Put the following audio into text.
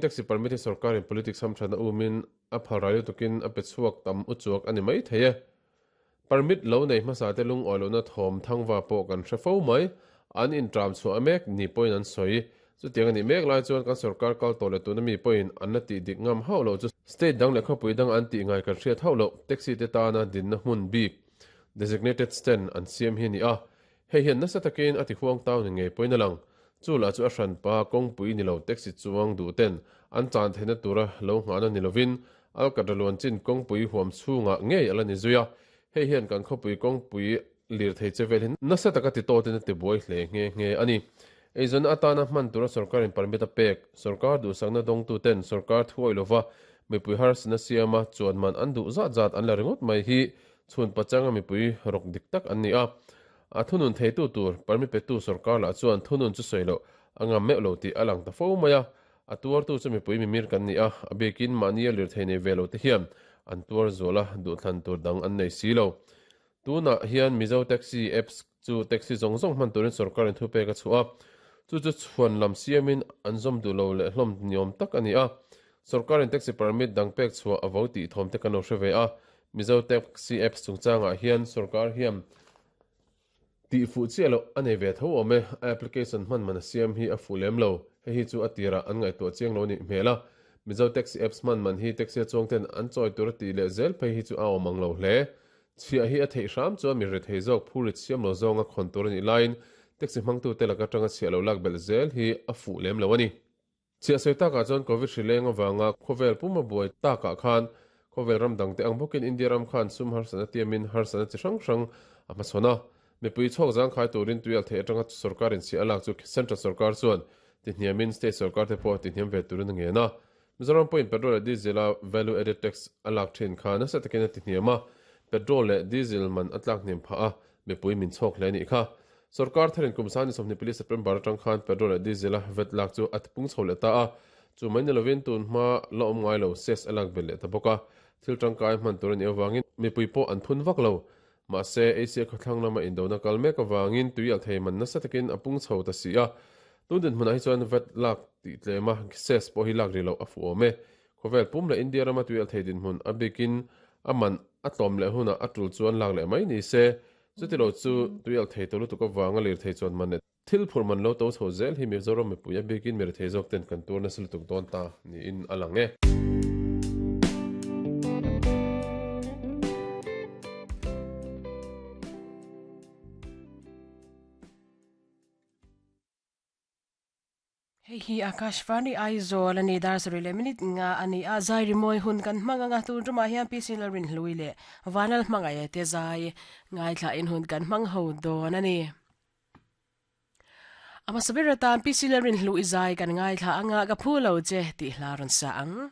Taxi permit hi sorkarin politics hamthatna umin a phalrai lutukin a pe chhuak tam uchuak a ni mai thei e. Permit lo nei hmasate lungawi lohna thawm thangva pawh kan hre fo mai. An intram chhuah mek ni pawhin an sawi. Chutiang a nih mek lai chuan kan sorkar kal tawh leh tuna mi pawhin an la tih dik ngam hauh loh chu state dang leh khawpui dang an tih ngai kan hriat hauh loh taxi te tana dinna hmun bik designated stand an siam hi a ni a. Hei hian nasa takin a ti huang tau ni ngei pawhin a lang. Chu lah chu a hranpa kawngpui ni lo taxi chuang duh ten an chan theihna tura lo nghahna ni lovin Alkatra luan chin kawngpui huam chhungah ngei a la ni zui a. Hei hian kan khawpui kawngpui lirthei che vel hi nasa taka ti tawtin a ti buai hle nghe nghe a ni. Eizawnna atana hman tura sorkarin permit a pek, sorkar duhsakna dawngtuten sorkar thuawih lova mipui harsatna siama chuan man an duh zat zat an la ringawt mai hi Chhun pachanga mipui rawk dik tak an ni a, a thunun theitu tur permit petu sorkar lah chuan thunun chu sawi loh a ngam meuh lo tih a lang ta fo mai a, a tuartu chu mipui mimir kan ni a, a biakin mahnia lirthei nei ve lo te hian an tuar zual a, duhthlan tur dang an nei si lo. Tunah hian Mizo Taxi Apps chu taxi zawng zawng hman turin sorkarin thupek a chhuah a, chu chu chhuan lam siamin an zawm duh lo leh hlawm niawm tak a ni a, sorkarin taxi permit dang pek chhuah a vo tih thawm te kan lo hre ve a, Mizo Taxi Apps chungchangah hian sorkar hian tih fuh chiah loh a nei ve tho awm e, a application hman man a siam hi a fuh lem lo, hei hi chu a tirah an ngaihtuah chiang lo nih hmel a, Mizo Taxi Apps hman man hi taxi a chuang ten an chawi tur a tih leh zel phei hi chu a awm ang lo hle. Chhiah hi a theih hram chuan mi rethei zawk phurit siam lo zawnga khawn tur a nih laiin taxi hmangtute laka tanga chhiah lo lak belh zel hi a fuh lem lo a ni. Chhiah sawi takah chuan Covid hri leng avanga khawvel puma buai takah khan khawvel ram dangte ang bawkin India ram khan sum harsatna tiamin harsatna chi hrang hrang a hmachhawn a. Mipui chhawk zangkhai turin tuial theih atanga sorkarin chhiah a lak chu Central sorkar chuan tihniamin State sorkar te pawh tihniam ve turin a ngen a. Mizoram pawhin petrol leh diesel a value added tax a lak thin kha nasa takin a tihniam a, petrol leh diesel man a tlak hniam phah a, mipui min chhawk hle a nih kha. Sorkar tharin kum sani 24 September atang khan petrol leh diesel a vat lak chu a tipung chho leh ta a, chu mai ni lovin tun hma la awm ngai lo cess a lak belh leh ta bawk a, thil tangkai hman tur a nih avangin mipui pawh an phun vak lo. Mahse, Asia khawthlang lama indona kal mek avangin tui alh thei man nasa takin a pung chho ta si a, tun dinhmunah hi chuan vat lak tih tlema cess pawh hi lak rih loh a fuh awm e. Khawvel pum leh India rama tui alh thei dinhmun a bikin a man a tlawm leh hunah a tul chuan lak leh mai ni se, Chuti lo chu tui alh thei tawh lutuk avanga lirthei chuan man leh thil phurh man lo to chho zel hi Mizoram mipui a bikin mirethei zawk ten kan tur nasa lutuk dawn ta niin a lang e. Hei hi Akashvani Aizawl a ni, dar sarih leh minute nga a ni a, zai rimawi hun kan hmang ang a, tun tumah hian PC Lalrinhlui leh Vanal Hmangaih te zai ngaithlain hun kan hmang ho dawn a ni. A hmasa ber atan PC Lalrinhlui zai kan ngaithla ang a, ka phu lo che tih hla rawn sa ang.